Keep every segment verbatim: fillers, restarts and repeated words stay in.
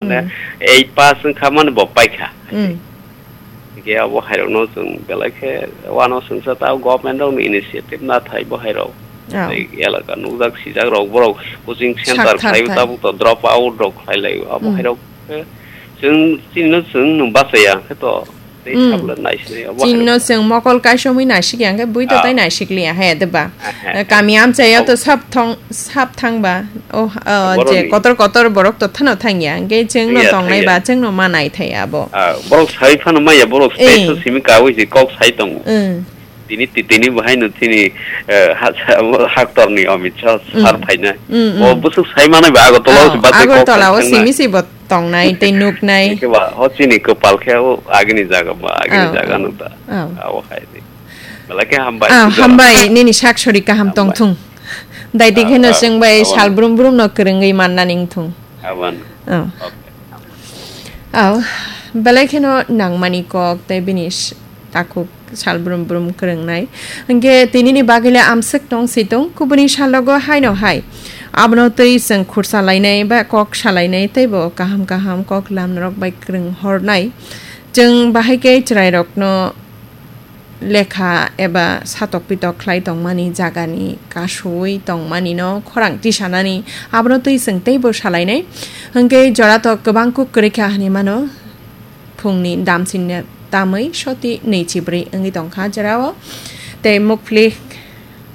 Hmm. Eight pass wngkha mani bo paikha. Hmm. Hingke abo hairokno chwng belai khe wano swngsa ta government rokni initiative nathai bo hairok. Oh. Tei elaka nukjak sijak rok borok coaching center Sakthar khlaiwi thai. Tabuk to drop out rok khlai lai abo Hmm. Hairok khe chwng chini no chwng nwng bachaya khe to tei Hmm. Sabla naisinai abo Chini no hairok. Chwng mokol kaisomwi naisik ya hingke bui to Ah. Tai naisik liya he deba. Aha. Kami amchaya to Abo sab thong sab thangba. Oh, oh, Borok je ni kotor kotor borok to thano thangya hingke chwng no Thangya, tongnai thangya. Ba chwng no manai thai abo. Ah, borok sai phano maya, borok Eh. Special simi kawi si kok sai tongo. Hmm. Tini ti-, tini bahai no chini, eh, ha-, ha-, haktor ni Amit Shah Hmm. Sar phainai. Hmm, hmm. O busuk sai manai ba Agartala Oh, si bate kok Agartala sai o simi thangnai. Si bo tongnai tei nuknai. Eke ba, ho chini kopal khe o agini jaga ba, agini Oh, jaga oh. No ta. Oh. Abo hai di. Belai khe hambai, Ah, Jora. Hambai, nini sak sori kaham Hambai. Tong thung. Dai di Ah, kheno ah, chwng bai awan. Sal brum brum no kwrwngwi manna ning thung. Awan. Oh. Okay. Oh, belai kheno nangmani kok tei bini s-, takhuk sal brum brum kwrwngnai. Hingke tinini bagwile amswk tong si tong, kubuni salogo haino hai. Abono twi chwng khursa lainai ba kok salainai tei bo kaham kaham kok lam norok bai kwrwng hornai. Chwng bahai khe chwrairokno lekha eba satok pitok khlai tongmani jagani kasui tongmani no khorang tisanani abono twi chwng teibo salainai. Hingke joratok kwbang kuk kwrwi kha hinwi mano. Phungni damsinne tamwi soti nui chibrwi wngwi tongkha jorao. Tei mukphlik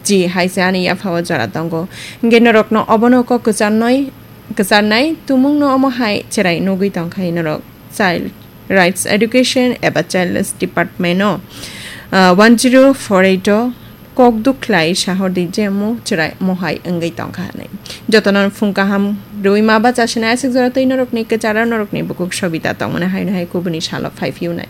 ji hai se ani yaphao jora tongo. Hingke norokno obono kok kwcharnoi, kwcharnai tumungno omo hai cherai nugwi tongkha norok. Child Rights Education eba Children's Department o, ah, one zero four eight o kok duk khlai sahordi je mo chwrai mohai wngwi tongkha hinwi. Jotono phung kaham rwima bacha sinai aswk jora twi norokni kwcharo norokni bukuk sobita tongmani haino hai kubuni salo phai phiyunai.